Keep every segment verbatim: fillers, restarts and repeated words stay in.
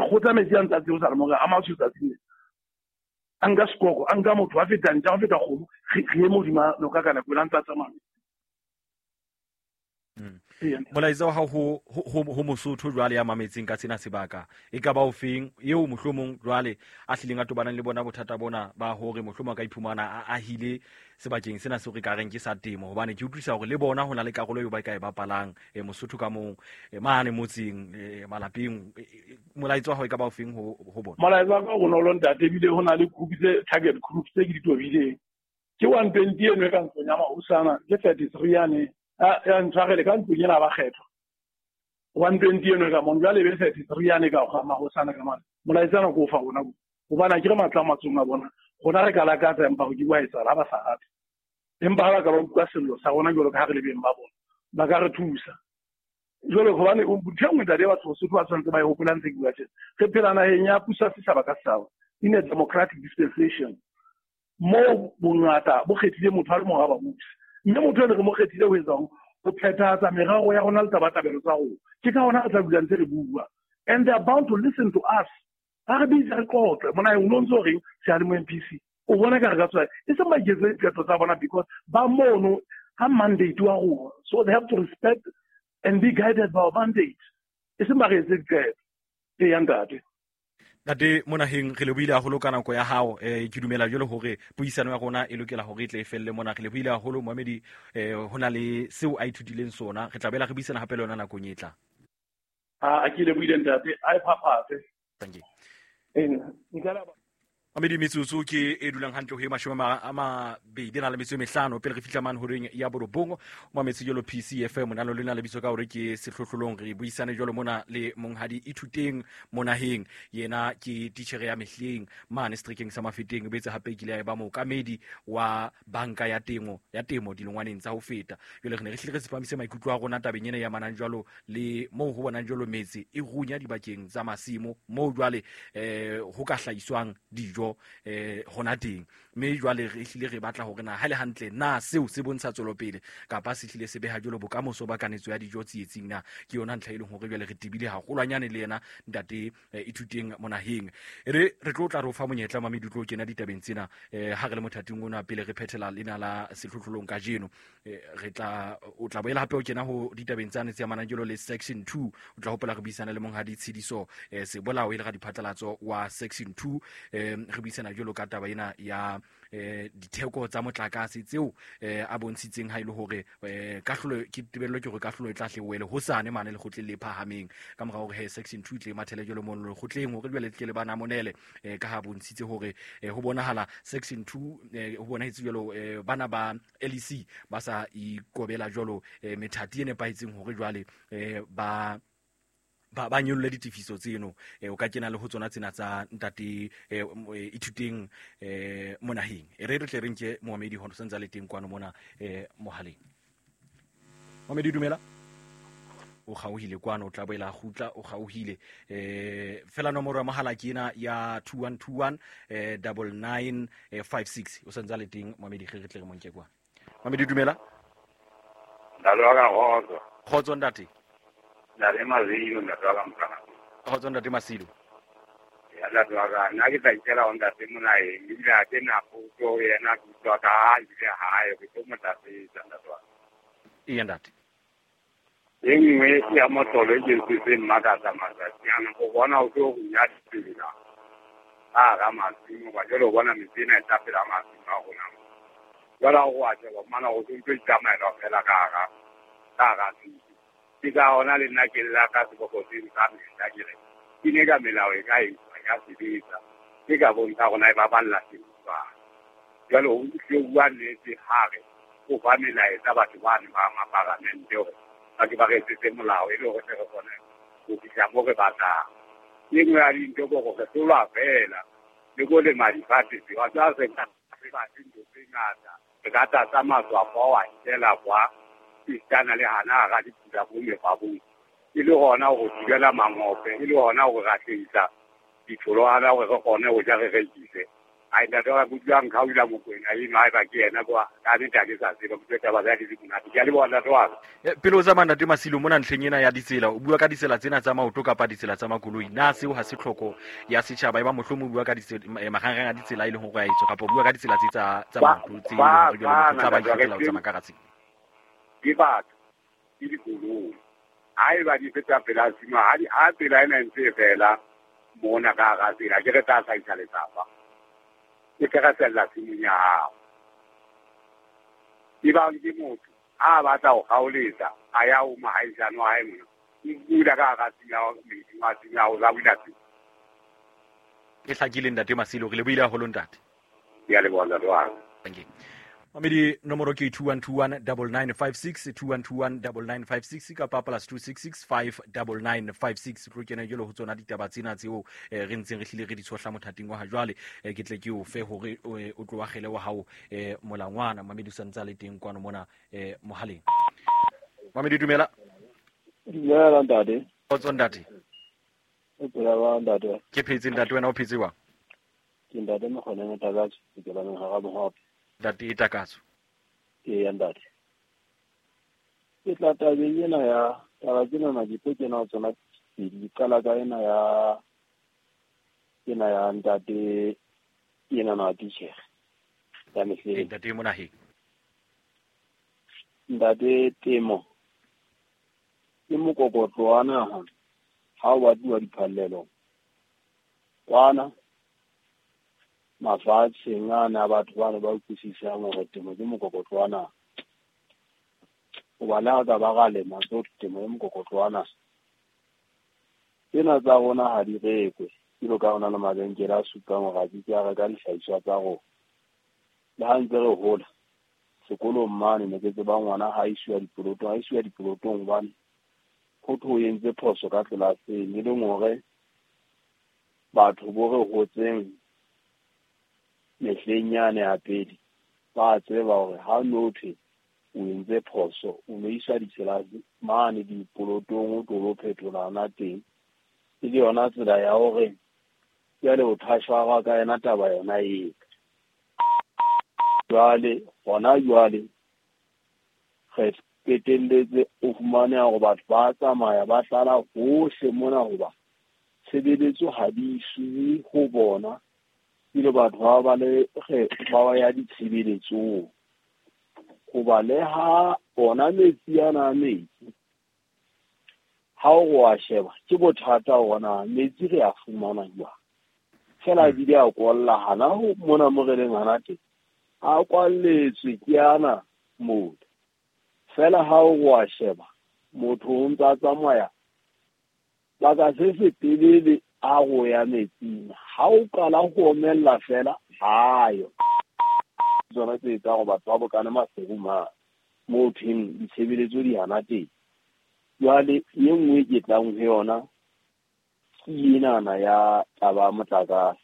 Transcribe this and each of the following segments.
kgotsa metsi a ntse a tseosa le more a matsho tsatsing a nka sekoko a nka motho a feta ntja a feta kgomo re eme hodima noka ka nako ela ntse a tsamaya. Molaetsa wa hao ho ho ho Mosotho jwale ya mametseng ka sena sebaka e ka ba o feng eo mohlomong jwale a hlileng a tobanang le bona bothata bona ba hore mohlomong a ka iphumana a ahile sebakeng sena seo re ka reng ke sa temo, hobane ke utlwisa hore le bona ho na le karolo eo ba ka e bapalang e Mosotho ka mong mane motseng malapeng. Molaetsa wa hao e ka ba o feng ho ho bona? Molaetsa wa ka o bonolo ntate, ebile ho na le group tse target group tse ke di tobileng ke one twenty eno e ka ntlong ya mahosana ke thirty-three yane ya ntshwarele ka ntlong ena ba kgethwa one twenty eno ka mona jwale e be thirty-three yane ka ga mahosana ka mane. Molaetsa ona ke o fa bona hobane ha ke re matla a matsong a bona rona re ka lakatsa empa ho ke wa etsahala ha ba sa rate, empa ha ba ka ba utlwa sello sa rona jwalo ka ha re le beng ba bona ba ka re thusa. Jwale hobane ntho e nngwe ntate batho Basotho ba tshwanetse ba e hopola ntse ke bua tjena, re phela naheng ya puso ya setjhaba ka setjhaba in a democratic dispensation moo bongata bo kgethile motho a le mong ha ba buse, mme motho ene re mo kgethile ho etsang ho phethahatsa merero ya rona le tabatabelo tsa rona. Ke ka hona re tla dula ntse re bua and they are bound to listen to us. Ha re bitse re qoqe mona o no ntso reng seyalemoya M P C o bona ka re ka tswa e seng ba iketse diqeto tsa bona because ba mono ha mandate wa rona, so they have to respect and be guided by our mandate, e seng ba re etse diqeto. E ya ntate. Ntate Monaheng, re lebohile haholo ka nako ya hao. Eh ke dumela jwalo hore puisano ya rona e lokela hore e tle e felle mona. Re lebohile haholo Mohamedi, eh ho na le seo a ithutileng sona. Re tla bela re buisana hape le yona nakong e tlang. A ke lebohile ntate, a e phaphatse. Thank you. Eh nka la Mamedi metsotso ke e dulang hantle ho e mashome a mabedi na le metso e mehlano pele re fihla mane horeng ya borobong. Mametse jalo P C F M monalo lena lebitso ka hore ke sehlohlolong. Re buisane jalo mona le monghadi Ithuteng Monaheng, yena ke titjhere ya mehleng mane seterekeng sa Mafeteng, o boetse hape kile ya ba mookamedi wa banka ya temo ya temo dilongwaneng tsa ho feta. Jwale re ne re hlile re tsepamise maikutlo a rona tabeng ena ya manang jwalo le moo ho bonang jwalo metse e runya dibakeng tsa masimo moo jwale eh ho ka hlahiswang dijo eh hona teng, mme jwale re hlile re batla hore na ha le hantle na seo se bontsha tswelopele kapa se hlile se beha jwalo bokamoso ba kanetso ya dijo tsietsing na. Ke yona ntlha e leng hore jwale re tebile haholwanyane le yena ntate Ithuteng Monaheng. E re re tlo tla re o fa monyetla Mamedi o tlo kena ditabeng tsena eh ha re le mothating ona pele re phethela lena la sehlohlolong kajeno. Re tla o tla boela hape o kena ho ditabeng tsane tse amanang jwalo le section two. O tla hopola re buisana le monghadi Tshidiso eh Sebolao e le radiphatlalatso wa section two, eh re buisana jwalo ka taba ena ya eh ditheko tsa motlakase tseo eh a bontshitseng ha ile hore eh kahlolo ke tebello ke hore kahlolo e tla hle wele hosane mane lekgotleng le phahameng ka mora hore he section two tle mathele jwalo mono lekgotleng hore jwale tle le bana monele eh ka ha bontshitse hore ho bonahala section two ho bonahetse jwalo bana ba L E C ba sa ikobela jwalo methati e nepahetseng hore jwale ba ba ba nyolle ditefiso tseno. O ka kena le ho tsona tsena tsa ntate Ithuteng Monaheng. E re re tle re nke Mohamedi ho santsa le teng kwano mona mohaleng. Mohamedi dumela. O kgaohile kwano, o tla boela kgutla, o kgaohile. Eh fela nomoro ya mohala ke ena ya two one two one double nine five six. O santsa le teng Mohamedi, re tle re mo nke kwano. Mohamedi dumela. Ntate wa ka kgotso. Kgotso ntate. Ntate Masilo, ntate wa ka mokana. Kgotso ntate Masilo. Ya ntate wa ka, nna ke tla itela ho ntate Monaheng, ebile ha ke na potso ho yena, ke utlwa ka ha ebile hae, ke tlo mo tlatsetsa ntate wa ka. Eya ntate. E nngwe ya mohlolo e ke ntse mmakatsa matsatsi ana, o bona o tlo runya ditsela ka hara masimo, ba jwale o bona metsi ena e tla pela masimo a rona. Jwale ha o a sheba mana o ntso itsamaela fela ka hara ka hara tshimo. Ke ka hona le nna ke lla ka seboko seno ka mehla ke re ke ne ka melao e ka etswa ya sebetsa, ke ka bontsha rona e baballa temo jwang. Jwale o tlo bua nnete ha re o fa melaetsa batho bane ba maparamente hore ba ke ba re etsetse molao e le hore re kgone ho fihla moo re batlang. E nngwe ya dintho ke hore re hlolwa fela le ko lema difate tseo, wa tseba re ka re batle ntho tse ngata, re ka tlatsa matswafo wa nkela kwa esitana le hana hara dipula bo mefabong, e le hona ho thibela mangope, e le hona ho rahlehisa ditholwana hore re kgone ho ja re rekise. Ai ntate wa kutlwang khaula Mokwena eno haeba ke yena kwa ka nnete ha ke sa tseba kutlwe taba tsa di monate. Ke a leboha ntate wa ka. Pele o tsamaya ntate Masilo mona ntlheng ena ya ditsela, o bua ka ditsela tsena tsa maoto kapa ditsela tsa makoloi, na seo ha se tlhoko ya setjhaba e ba mohlomong o bua ka marangrang a ditsela e leng hore a etswa kapa o bua ka ditsela tse tsa tsa maoto tse e leng hore jwale motho tla ba ikgethela ho tsamaya ka hara tsela? Ke batho, ke dikoloi. Haeba di feta pela tshimo, ha di ha tsela ena e ntse e fela mona ka hara tsela, ke re tla hlahisa letsapa. Ke feresella tshimong ya hao. Ebang ke motho a batla ho kgaoletsa, a ya ho mohaisane wa hae mona, o bula ka hara tshimo ya metsi wa tshimo ya hao, o bula tshimo. E hlakile ntate Masilo, re lebohile haholo ntate. Ke a leboha ntate wa ka. Thank you. Mamedi nomoro ke two one two one double nine five six, two one two one double nine five six kapa plus two six six five double nine five six. Tlo kena jwalo ho tsona ditaba tsena tseo re ntseng re hlile re di tshohla mothating wa ha jwale. Ke tle ke o fe hore o tlo akgele wa hao molangwana. Mamedi o sa ntse a le teng kwano mona mohaleng. Mamedi dumela. Dumela ntate. Kgotso ntate. O phela jwang ntate? Ke phetse ntate, wena o phetse jwang? Ke ntate Mokgoneng Takatso, ke tswa hara Mohope. Ntate Takatso. Ee ntate. Ke tla tabeng ena ya taba tsena ke tlo kena ho tsona pedi. Ke qala ka ena ya ena ya ntate ena na titjhere ya mehleng. Ntate Monaheng. Ntate temo ke mokokotlo wa naha ha o batluwa diphallelo kwana mafatsheng ana batho bana ba utlwisisang hore temo ke mokokotlo wa naha. Hoba le ha ka ba ra lema tsohle, temo ke mokokotlo wa naha. Tsena tsa rona ha di rekwe, jwalo ka hona le mabenkele a supang hore a ke ke a reka dihlahiswa tsa rona. Le ha ntse re hola sekolong mane ne ke tseba ngwana ha isiwa dipolotong, ha isiwa dipolotong hobane ho thwe o entse phoso ka tlelaseng, e leng hore batho bo re hotseng mehleng yane ya pele ba tseba hore ha no thwe o entse phoso o no iswa ditlelase mane dipolotong o tlo phethola hona teng. E le yona tsela ya hore jwale o thashwa ka yona taba yona eo. Jwale hona jwale re qetelletse o fumane hore batho ba tsamaya ba tlala hohle mona hoba tshebeletso ha di isiwe ho bona, ebile batho ba ba le ba ya ditshebeletsong. Hoba le ha ona metsi ana a metsi ha o wa sheba ke bothata hona metsi re a fumana jwang, fela ebile a kwalla hana ho mona mo re leng hana teng a kwalletswe ke ana motho. Fela ha o wa sheba motho o ntse a tsamaya baka se se telele a go ya metsing, ha o qala ho omella fela hayo tsona tse etsang hore batho ba bokane Maseru mane moo thweng ditshebeletso di hana teng. Jwale e nngwe ke tlang ho yona ke enana ya taba ya motlakase.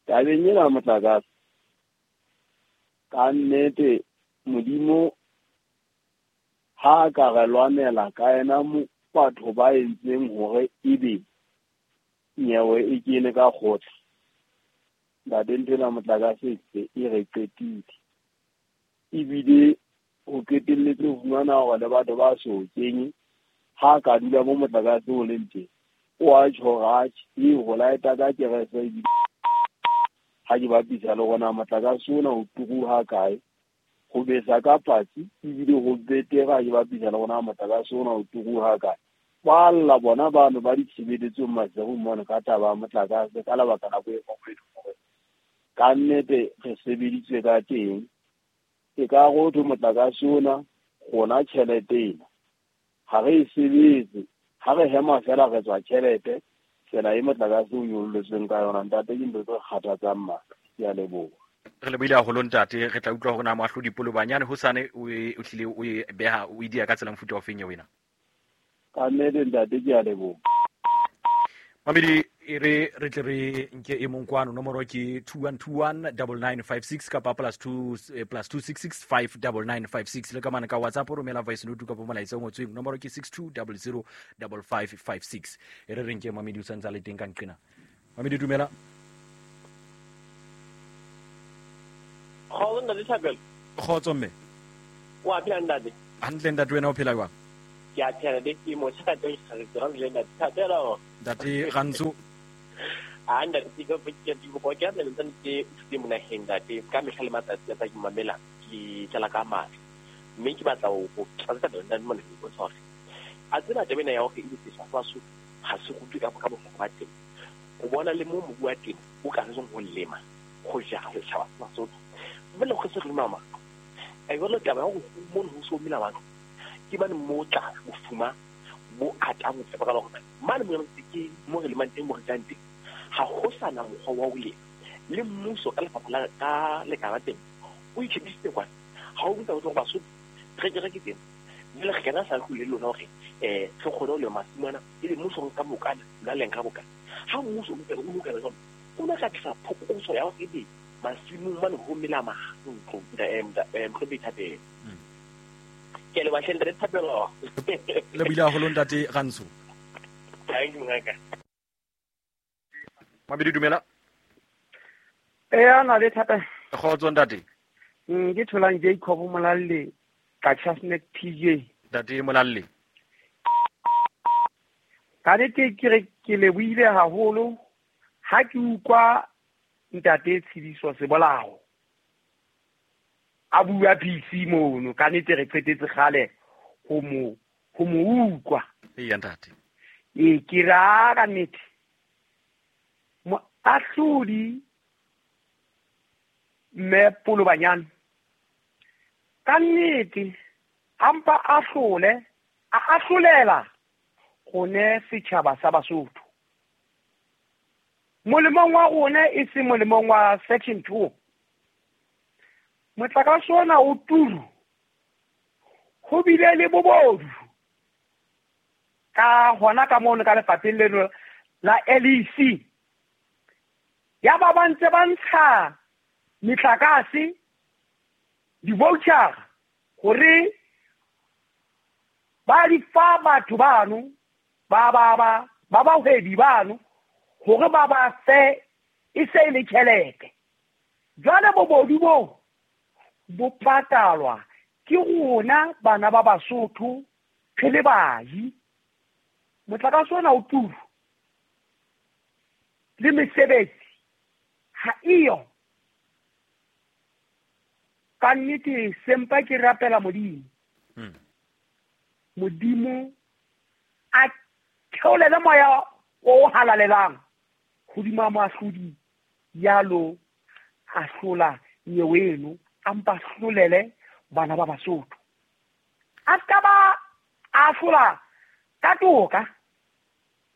Tabeng ena ya motlakase ka nnete Modimo ha a ka re lwanela ka yena batho ba entseng hore ebe nyewe e kene ka kgotla. Ntate ntho ena motlakase e re qetile, ebile o qetelletse ho fumana hore le batho ba so kenye ha ka dula mo motlakase o leng teng o a tjho hore atjhe e ho laeta ka kerese ebile ha ke bapisa le rona motlakase ona o turu ha kae, ho besa ka patsi ebile ho betere ha ke bapisa le rona motlakase ona o turu ha kae. Ba lla bona bano ba ditshebeletsong Maseru mona ka taba ya motlakase ka lebaka la boemo bo e leng hore ka nnete re sebeditswe ka teng. E ka ho thwe motlakase ona rona tjhelete ena ha re e sebetse, ha re hema fela re tswa tjhelete tsela e motlakase o nyolletsweng ka yona. Ntate ke ntho tse kgathatsang matla. Ke a leboha. Re lebohile haholo ntate. Re tla utlwa hore na moahlodi Polobanyane hosane o e o hlile o e beha o e dia ka tsela mofuta o feng ya wena. Ka nnete ntate ke a leboha. Mamedi e re re tle re nke e mong kwano, nomoro ke two one two one double nine five six kapa plus two plus two six six five double nine five six. Le ka mane ka WhatsApp o romela voice note kapa molaetsa o ngotsweng, nomoro ke six two double zero double five five six. E re re nke Mamedi o santse a le teng ka nqena. Mamedi dumela. Ntate Thapelo. Kgotso mme. Wa phela ntate? Hantle ntate, wena o phela jwang? Ke a phela le ke mo tshaka teng ke ntate Thapelo. Ntate Rantsho. A ntate ke go ke di go ke le ntse ke ke mona heng ntate ka mehla le matsatsi a tsa ke mamela ke tlala ka matla. Mme ke batla ho tlatsa ntate mona ke tshware. A tsena taba ena ya hore e setjhaba sa Basotho ha se rutwe ka ka bohlokwa ba temo. O bona le mo mobu wa temo o ka reng ho lema ho jara setjhaba sa Basotho. Mme le go se re mama. E jwalo taba ya hore mono ho so mela batho ke bane mo tla bofuma bo atang ho tseba ka hore mane mo ke mo re lemang teng mo re jang teng ha ho sana mokgwa wa ho lema. Le mmuso ka lefapha la ka lekala teng o itshebisitse kwana ha o botsa hore Basotho re ke re ke teng mme re kena sa go le lona hore eh re kgone ho lema masimana e le mmuso ka bokana la leng ka bokana ha mmuso o ntse o lokela jwalo o na ka tlisa phokotso ya hore ebe masimong mane ho mela mahlo eh eh Thapelo. Ke le bahle ntate Thapelo. Le buile haholo ntate Rantsho. Thank you ngaka. Mabedi dumela. Eh ana le Thapelo. Kgotso ntate. Mm ke tholang Jacob Molalle ka Chasnet P J. Ntate Molalle. Ka nnete ke re ke lebohile haholo ha ke utlwa ntate Tshidiso Sebolao a bua P C mono ka nnete re qetetse kgale ho mo ho mo utlwa. Eya ntate. E ke ra ka nnete moahlodi mme Polobanyana ka nnete ampa ahlole a ahlolela gone setjhaba sa Basotho molemong wa rona e se molemong wa section two. Motlakase ona o turu ho bile le bobodu ka hona ka mono ka lefapheng leno la L E C ya ba ba ntse ba ntsha metlakase di-voucher hore ba di fa batho bano ba ba ba ba bahwebi bano hore ba ba fe e se le tjhelete. Jwale bobodu bo bo patalwa ke rona bana ba Basotho re le baji. Motlakase ona o turu le mesebetsi ha eyo. Ka nnete sempa ke rapela Modimo. Hmm. Modimo a theolele moya o halalelang hodima moahlodi ya lo ahlola nyewe eno a mpa hlolele bana ba Basotho. A ska ba ahlola ka toka,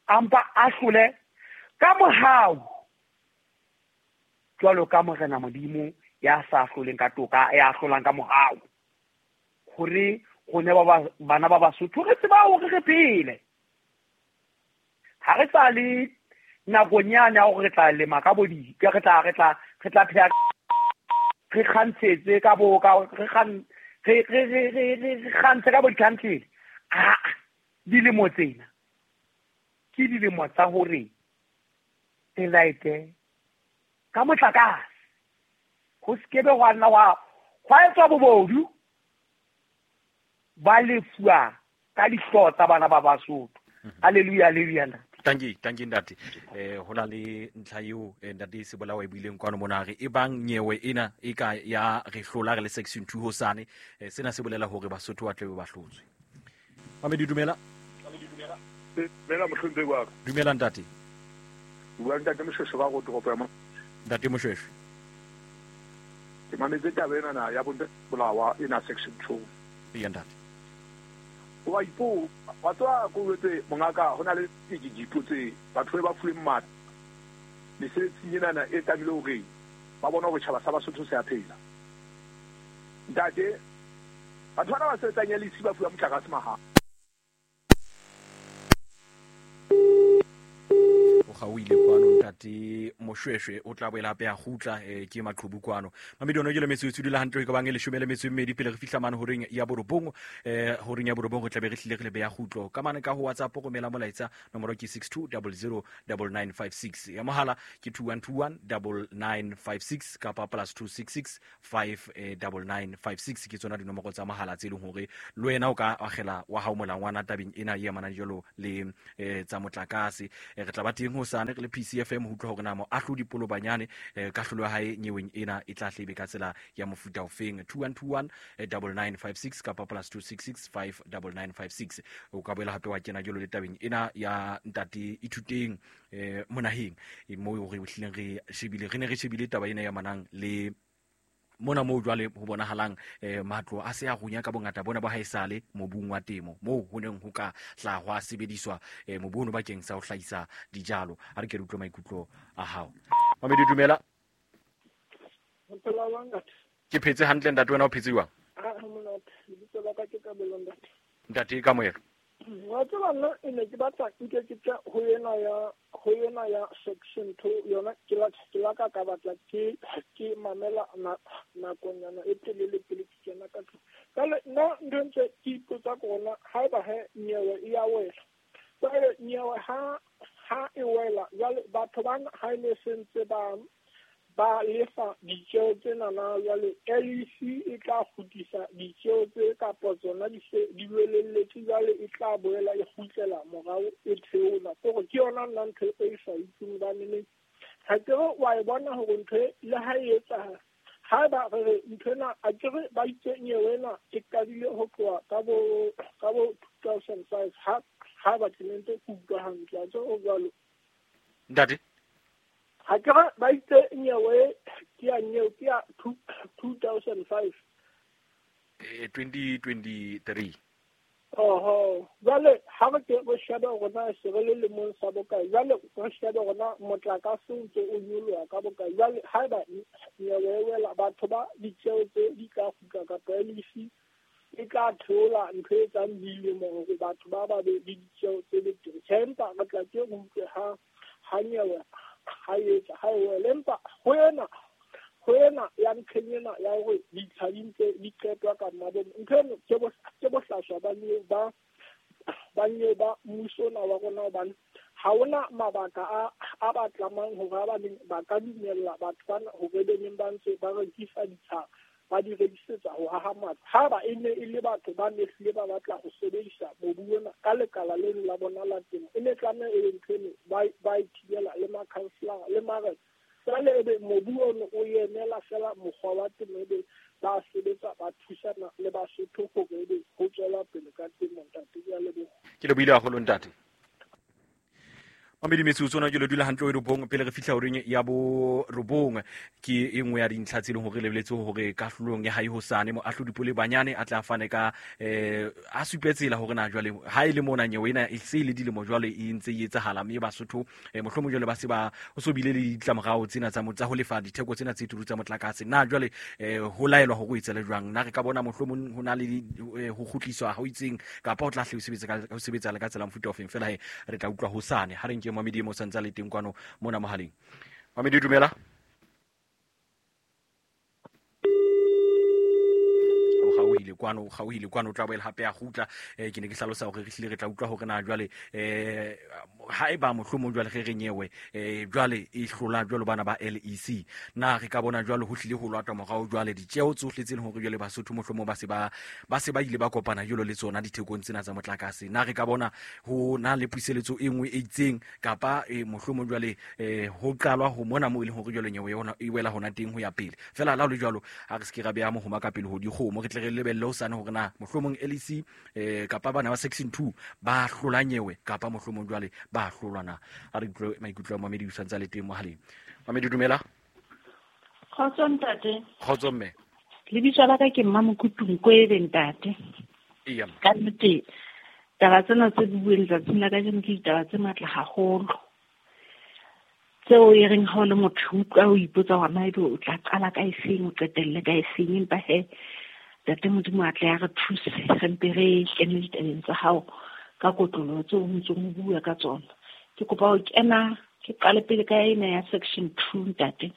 a mpa ahlole ka mohau jwalo ka Morena Modimo ya sa ahloleng ka toka, ya ahlolang ka mohau hore rone ba bana ba Basotho re tseba hore re phele. Ha re sa le nakong yane ya hore re tla lema ka bo di re tla re tla re tla phela re kgantshetse ka bo ka re kgan re re re re re kgantshe ka bo di-country. Ah, dilemo tsena ke dilemo tsa hore re laete ka motlakase ho sekebe hwa nna hwa hwa etswa bobodu ba lefuwa ka dihlooho tsa bana ba Basotho. Hallelujah, hallelujah. Thank you, thank you ntate. Eh ho na le ntlha eo ntate Sebolao e buileng kwano mona re e bang nyewe ena e ka ya re hlola re le section two hosane sena se bolela hore Basotho ba tle ba hlotswe. Mamedi dumela. Dumela mohlomphehi wa ka. Dumela ntate. Bua ntate Moshweshwe ba go toropo ya mo. Ntate Moshweshwe. Ke mametse taba ena na ya bontate Bolawa ena section two. Eya ntate. Wa ipo wa tswa ko wetse mongaka hona le dijipo tse batho ba fuweng matla mesebetsing enana e tlamehile hore ba bona hore tjhaba sa Basotho se a phela. Ntate, batho bana ba sebetsang L E C ba fuwa motlakase mahala. O kgaohile kwano ntate. Ntate Moshweshwe o tla boela hape a kgutla eh, ke maqhubu kwano. Mamedi ono ke le metsotso dula hantle ka bang e leshome le metso e mmedi pele re fihla mane horeng ya borobong eh horeng ya borobong re tla be re hlile re le beya kgutlo. Ka mane ka ho WhatsApp romela molaetsa nomoro ke six two zero zero nine nine five six. Ya mohala ke two one two one nine nine five six kapa plus two six six five nine nine five six ke tsona dinomoro tsa mohala tse leng hore le wena o ka agela wa hao molangwana tabeng ena e amanang jalo le eh, tsa motlakase. Eh, re tla ba teng hosane re le P C F M ho utlwa hore na moahlodi Polobanyane eh, kahlolo ya hae nyeweng ena e tla hlebe ka tsela ya mofuta ofeng. Two one two one nine nine five six kapa plus two six six five nine nine five six. O ka boela hape wa kena jalo le tabeng ena ya ntate Ithuteng eh, monaheng e moo re hlileng re shebile re ne re shebile taba ena ya manang le mona moo jwale ho bonahalang eh, matlo a se a runya ka bongata bona ba haesale mobung wa temo moo ho neng ho ka tla hwa sebediswa eh, mobu ono bakeng sa ho hlahisa dijalo. Ha re ke re utlwe maikutlo a hao. Mamedi dumela. Ke phetse hantle ntate, wena o phetse jwang? Ntate ka moelo. Wa tseba nna e ne ke batla nke ke tla ho ena ya ho ena ya section two yona ke la ke la ka ka batla ke ke mamela nakonyana e telele pele ke kena ka tlung. Jwale nna ntho ntse ke ipotsa ke hore haeba he nyewe e ya wela, jwale nyewe ha ha e wela jwale batho bana ha e ne sentse ba ba lefa ditjeo tsena na jwale L E C e tla kgutlisa ditjeo tse kapa tsona di se di welelletse jwale e tla boela e kgutlela morao e theola. Kore ke yona nna ntho e sa itseng hobane ha ke re wa e bona hore ntho e le ha e etsahala haeba re re ntho ena a ke re ba itse nyewe ena e qadile ho tloha ka bo ka bo two thousand five ha ha ba ke ntse ke utlwa hantle a tse o jwalo ntate. Ha ke re ba itse nyewe ke ya nyewe ke ya two thousand five eh, twenty twenty-three. Oho, jwale ha re ke re shebe hore na se re le lemong sa bokae, jwale re shebe hore na motlakase o ntse o nyoloha ka bokae. Jwale haeba nyewe e wela batho ba ditjeo tse di tla kgutla kapa L E C e tla theola ntho e etsang dilemo hore batho ba ba be le ditjeo tse betere. Tjhe, empa re tla ke re utlwe ha ha nyewe ha etsa ha e wele. Empa ho ena ho ena ya ntlheng ena ya hore ditsha di ntse di qetwa ka mmabomo, ntho eno ke bo ke bohlaswa ba nyewe ba ba nyewe ba mmuso ona wa rona, hobane ha hona mabaka a a ba tlamang hore ba neng ba ka dumella batho bana hore be neng ba ntse ba rekisa ditsha ba di rekisetsa ho haha matlo. Ha ba e ne e le batho ba ne hlile ba batla ho sebedisa mobu ona ka lekala leno la bona la temo, e ne tlameha e be ntho eno ba ba e thibela le makhanselara le marena. Jwale ebe mobu ono o emela fela mokgwa wa temo, ebe ba sebetsa ba thusana le Basotho hore ebe ho tswela pele ka temo. Ntate, ke a leboha. Ke lebohile haholo ntate. Mamedi metsotso ona ke le dula hantle ho robong pele re fihla horeng ya bo robong. Ke e nngwe ya dintlha tse leng hore lebeletse hore kahlolong ya hae hosane moahlodi Polebanyane a tla fane ka eh a supe tsela hore na jwale ha e le mona nyewe ena e se le dilemo jwale e ntse e etsahala mme Basotho eh, mohlomong jwale ba se ba ho so bile le ditlamorao tsena tsa tsa ho lefa ditheko tsena tse turu tsa motlakase. Na jwale eh, ho laelwa hore o etsele jwang? Na re ka bona mohlomong ho na le ho kgutliswa ha ho itseng kapa ho tla hle ho sebetsa ka ho sebetsa le ka tsela mofuta ofeng? Fela he re tla utlwa hosane. Ha re nke Mamedi mo santsa le teng kwano mona mohaleng. Mamedi dumela. O gauhile kwano, o gauhile kwano, o tla boela hape a kgutla. Eh, ke ne ke hlalosa hore re hlile re tla utlwa hore na jwale eh ha eba mohlomong jwale re re nyewe eh jwale e hlola jwalo bana ba L E C, na re ka bona jwale ho hlile ho lwatwa morao jwale ditjeo tsohle tse leng hore jwale Basotho mohlomong ba se ba ba se ba ile ba kopana jwalo le tsona dithekong tsena tsa motlakase. Na re ka bona ho na le puseletso e nngwe e itseng kapa eh, mohlomong jwale eh, ho qalwa ho mona mo e leng hore jwale nyewe yona e wela hona teng ho ya pele. Fela la ho le jwalo ha re se ke ra beha mohoma ka pele ho dikgomo, re tle re lebelle ho sane hore na mohlomong L E C eh, kapa bana ba section two ba hlola nyewe kapa mohlomong jwale ba hlolwa na. A re utlwe maikutlo a Mamedi o santse le teng mohaleng. Mamedi dumela. Kgotso ntate. Kgotso mme. Lebitso la ka ke Mmamokutu Nkwebe ntate. Eya. Ka nnete taba tsena tse bueng tsatsing la kajeno ke ditaba tse matla haholo. Tseo e reng ha o le motho utlwa o ipotsa hore na ebe o tla qala ka efeng o qetelle ka efeng, empa he Ntate Modimo a tle a re thuse re mpe re kene ditabeng tsa hao ka kotloloho tseo o ntsong o bua ka tsona. Ke kopa ho kena Ke qale pele ka ena ya section two, ntate.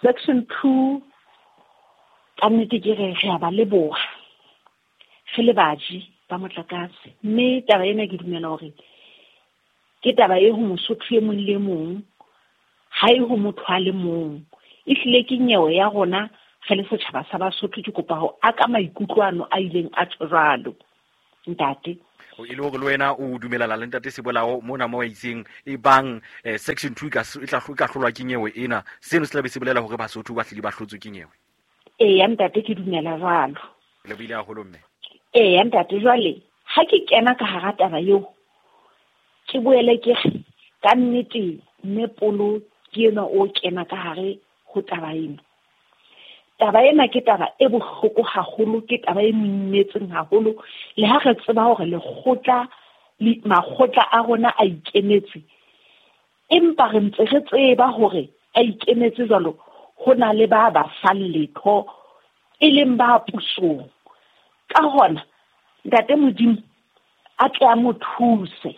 Section two, ka nnete ke re re a ba leboha re le baji ba motlakase. Mme taba ena ke dumela hore ke taba e ho Mosotho e mong le mong, ha e ho motho a le mong. Ehlile ke nyewe ya rona re le setjhaba sa Basotho. Ke kopa ho aka maikutlo ano a ileng a tjho jwalo, ntate. O e le hore le wena o dumelana le ntate Sebolao mona mo a itseng e bang eh, section two e ka e tla e ka hlolwa ke nyewe ena, seno se tla be se bolela hore Basotho ba hlile ba hlotswe ke nyewe. Eya ntate, ke dumela jwalo. Le buile haholo mme. Eya ntate, jwale ha ke kena ka hara taba eo, ke boele ke re ka nnete mme Polo ke enwa o kena ka hare ho taba ena. Taba ena ke taba e bohloko haholo, ke taba e moimetseng haholo. Le ha re tseba hore lekgotla le makgotla a rona a ikemetse, empa re ntse re tseba hore a ikemetse jwalo, ho na le ba ba fang letho e leng ba pusong. Ka hona ntate Modimo a tle a mo thuse,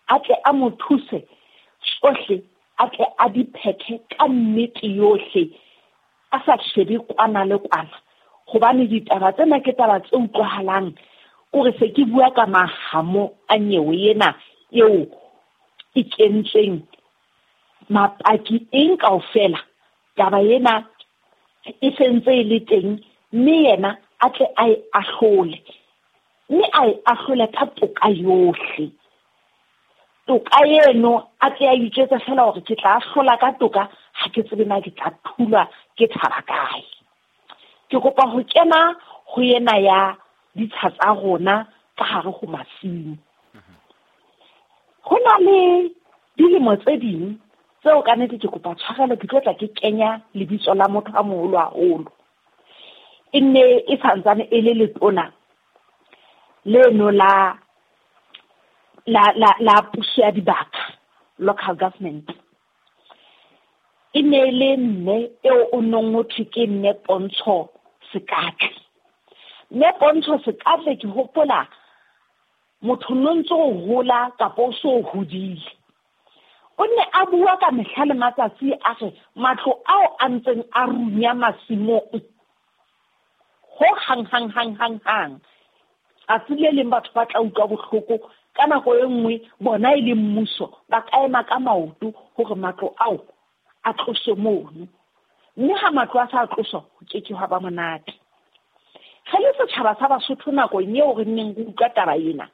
a tle a mo thuse tsohle, a tle a di phethe ka nnete yohle, a sa shebe kwana le kwana. Hobane ditaba tsena ke taba tse utlwahalang, kore se ke bua ka mahamo a nyewe ena eo e kentsweng mapaki eng kaofela. Taba ena e sentse e le teng, mme yena a tle a e ahlole, mme a e ahlole ka toka yohle. Toka eno a tle a itjwetse fela hore ke tla ahlola ka toka, ha ke tsebe na ke tla thulwa ke tshaba kae. Ke kopa ho kena ho ena ya ditsha tsa rona ka hare ho masimo. Ho na le dilemo tse ding tseo ka nnete ke kopa tshwarelo, ke tlo tla ke kenya lebitso la motho a moholo haholo. E nne e santsane e le letona leno la la la la puso ya dibaka, local government. E ne le mme eo o nong ho thwe ke mme Pontsho Sekatle. Mme Pontsho Sekatle, ke hopola motho no ntso o hola kapa o so hodile, o ne a bua ka mehla le matsatsi a re matlo ao a ntseng a runya masimong ho hang hang hang hang hang. Tsatsi le leng batho ba tla utlwa bohloko ka nako e nngwe, bona e le mmuso ba ka ema ka maoto hore matlo ao a tloswe mono. Mme ha matlo a sa tloswa, ho ke ke hwa ba monate. Re le setjhaba sa Basotho nakong eo re neng re utlwa taba ena,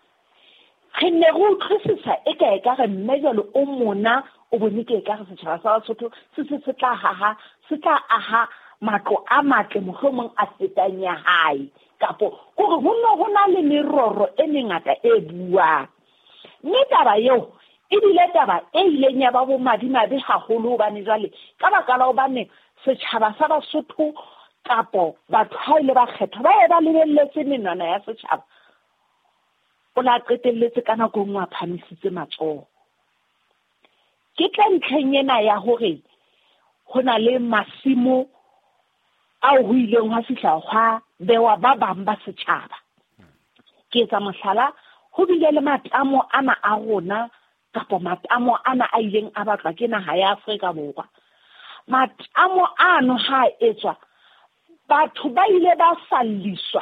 re ne re utlwisisa e ka ekare mme jwale o mona o bone ke ekare setjhaba sa Basotho se se se tla haha, se tla aha matlo a matle mohlomong a fetang ya hae, kapo kore ho no ho na le meroro e mengata e buang. Mme taba eo e bile taba e ileng ya ba bomadimabe haholo, hobane jwale ka baka la hobane setjhaba sa Basotho kapo batho ha ile ba kgethwa ba ye ba lebelletse menwana ya setjhaba, o la qetelletse ka nako e nngwe a phahamisitse matsoho. Ke tla ntlheng ena ya hore ho na le masimo ao ho ileng hwa fihla hwa bewa ba bang ba setjhaba. Ke etsa mohlala, ho bile le matamo ana a rona kapa matamo ana a ileng a batlwa ke naha ya Afrika Borwa. Matamo ano ha a etswa, batho ba ile ba falliswa,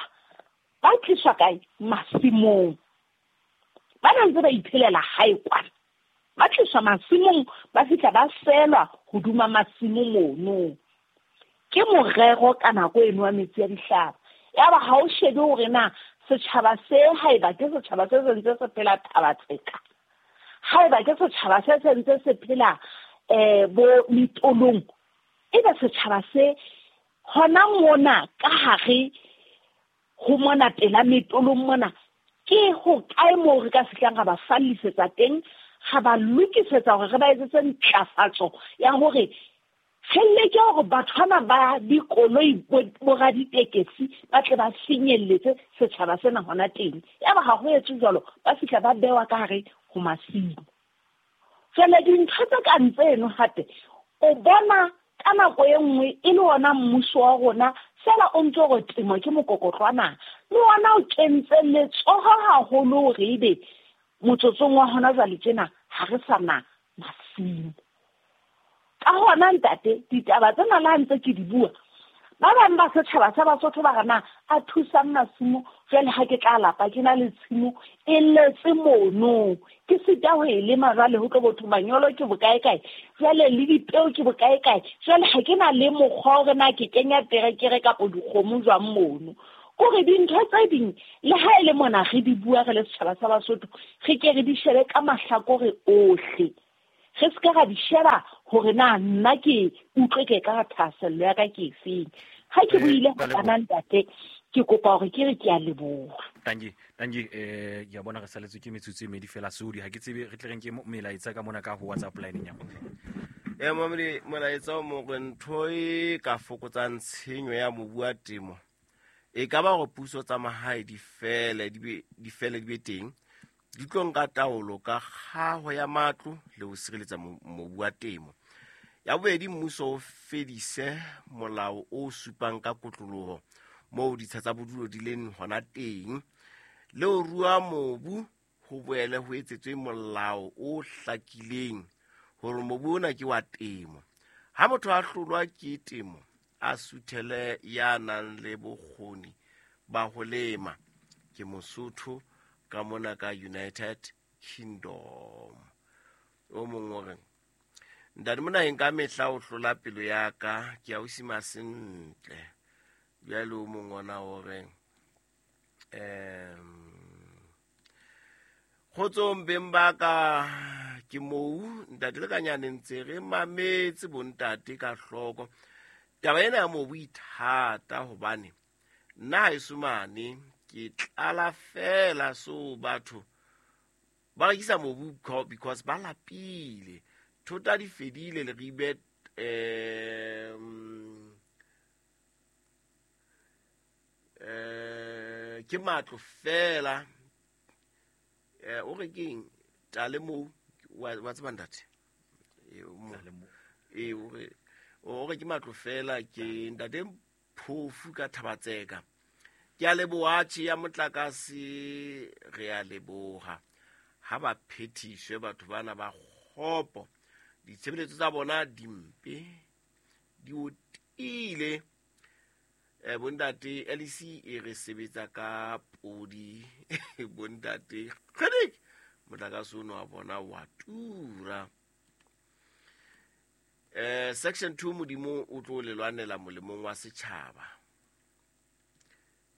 ba tliswa kae? Masimong. Ba na ntse ba iphelela hae kwana, ba tliswa masimong, ba fihla ba selwa hoduma masimo mono. Ke morero ka nako eno wa metsi a dihlaba. Yaba ha o shebe hore na setjhaba se haeba ke setjhaba se sentse se phela Thabatseka, haeba ke setjhaba se sentse se phela eh bo metolong, ebe setjhaba se hona mona ka hare ho mona pela metolong mona, ke ho kae moo re ka fihlang ra ba fallisetsa teng, ra ba lokisetsa hore re ba etsetse ntlafatso ya hore re leke hore batho bana ba dikoloi bo raditekesi ba tle ba finyelletse setjhaba sena hona teng. Yaba ha ho etswe jwalo, ba fihla ba bewa ka hare ho masimo. Jwale dintho tse kang tseno hape o bona ka nako e nngwe e le ona mmuso wa rona fela o ntso re temo ke mokokotlo wa naha, le ona o kentse letsoho haholo hore ebe motsotsong wa hona jwale tjena ha re sa na masimo. Ka hona ntate, ditaba tsena le ha ntse ke di bua, ba bang ba setjhaba sa Basotho ba re na a thusang masimo, jwale ha ke tla lapa ke na le tshimo e letse mono, ke sita ho e lema jwale ho tlo botho manyolo ke bokae kae, jwale le dipeo ke bokae kae, jwale ha ke na le mokgwa hore na ke kenya terekere kapa dikgomo jwang mono. Kore dintho tse ding le ha e le mona re di bua re le setjhaba sa Basotho, re ke re di shebe ka mahlakore ohle, re se ka ra di sheba hore na nna ke utlwe ke ka thahasello ya ka ke efeng. Ha ke buile kana ntate, ke kopa hore ke re ke a leboha. Tangi, tangi eh ya bona re saletswe ke metsotso e medi fela sodi, ha ke tsebe re tle re nke melaetsa ka mona ka ho WhatsApp line ya rona. Eh mamedi, molaetsa o mo re ntho e ka fokotsang tshenyo ya mobu wa temo e ka ba hore puso tsa mahae di fele di be di fele di be teng, di tlo nka taolo ka kgaho ya matlo le ho sireletsa mobu wa temo. Ya bobedi, mmuso o fedise molao o supang ka kotloloho moo ditsha tsa bodulo di leng hona teng, le ho rua mobu ho boele ho etsetswe molao o hlakileng hore mobu ona ke wa temo. Ha motho a hlolwa ke temo, a suthele ya nang le bokgoni ba ho lema. Ke Mosotho ka mona ka United Kingdom. O mong o reng, ntate mona ka mehla o hlola pelo ya ka, ke a o sima sentle. Jwale o mong ona o reng, um kgotsong beng ba ka, ke mou ntate le kanyane ntse re mametse bontate ka hloko. Taba ena ya mobu e thata hobane nna haeso mane ke tlala fela, so batho ba rekisa mobu because ba lapile, thota di fedile leribe um eh ke matlo fela. Eh o re keng tale moo wa tseba ntate, e o re o re ke matlo fela, ke ntate Phofu ka Thabatseka. Ke a leboha tjhe ya motlakase, re a leboha. Ha ba phethiswe batho bana ba kgopo, ditshebeletso tsa bona di mpe, di otile. Eh bontate L E C e re sebetsa ka podi bontate kgedik, motlakase ono wa bona wa tura. Eh section two, Modimo o tlo le lwanela molemong wa setjhaba.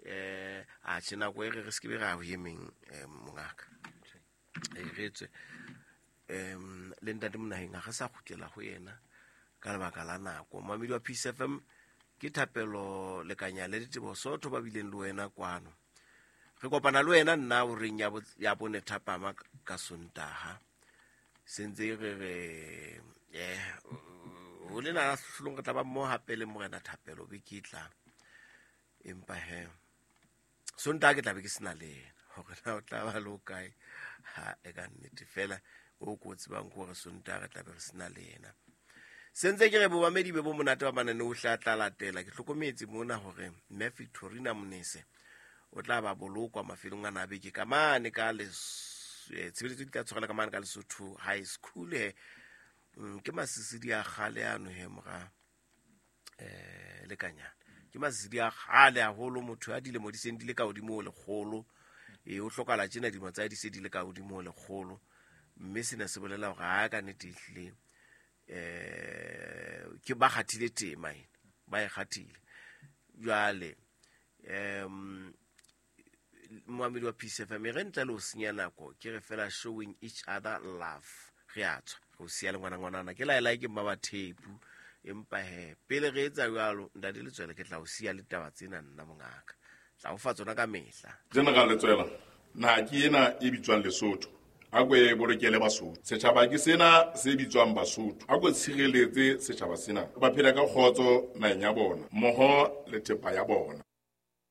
Eh a tjhe nako e re re se ke be ra ho emeng mongaka. E re tswe em le ntate Monaheng ha re sa kgutlela ho yena ka lebaka la nako. Mamedi wa Peace F M, ke Thapelo Lekanya le Ditebo Sotho ba bileng le wena kwano. Re kopana le wena nna o reng ya bone thapama ka Sontaha. Sentse re re eh o le na hlong re tla ba mo hape le morena Thapelo be ke tla. Empa he Sontaha ke tla be ke sena le yena hore na o tla ba le kae, ha e ka nnete fela o ko tsebang hore Sontaha re tla be re sena le yena. Sentse ke re bomamedi be bo monate ba manane o hla tla latela. Ke hlokometse mona hore Mme Victorina Monese o tla ba bolokwa mafelong a nabeke ka mane ka le tshebeletso di tla tshwarela ka mane ka Lesotho High School. He ke masisidi a kgale ano he mora eh lekanyana, ke masisidi a kgale haholo, motho a dilemo di seng di le ka hodimo ho lekgolo. E o hlokala tjena dilemo tsa di se di le ka hodimo ho lekgolo, mme sena se bolela hore ha ka nnete ehlile eh ke ba kgathile tema ena, ba e kgathile. Jwale em moamedi wa Peace F M, re ntle le ho senya nako, ke re fela showing each other love. Re a tswa re o siya le ngwana ngwanana ke laela ke mma ba thepu, empa he pele re etsa jwalo ntate Letswele ke tla o siya le taba tsena nna mongaka, tla o fa tsona ka mehla. General Letswela, naha ke ena e bitswang Lesotho, a ko e bolokele Basotho. Setjhaba ke sena se bitswang Basotho, a ko tshireletse setjhaba sena, ba phela ka kgotso naheng ya bona mmoho le thepa ya bona.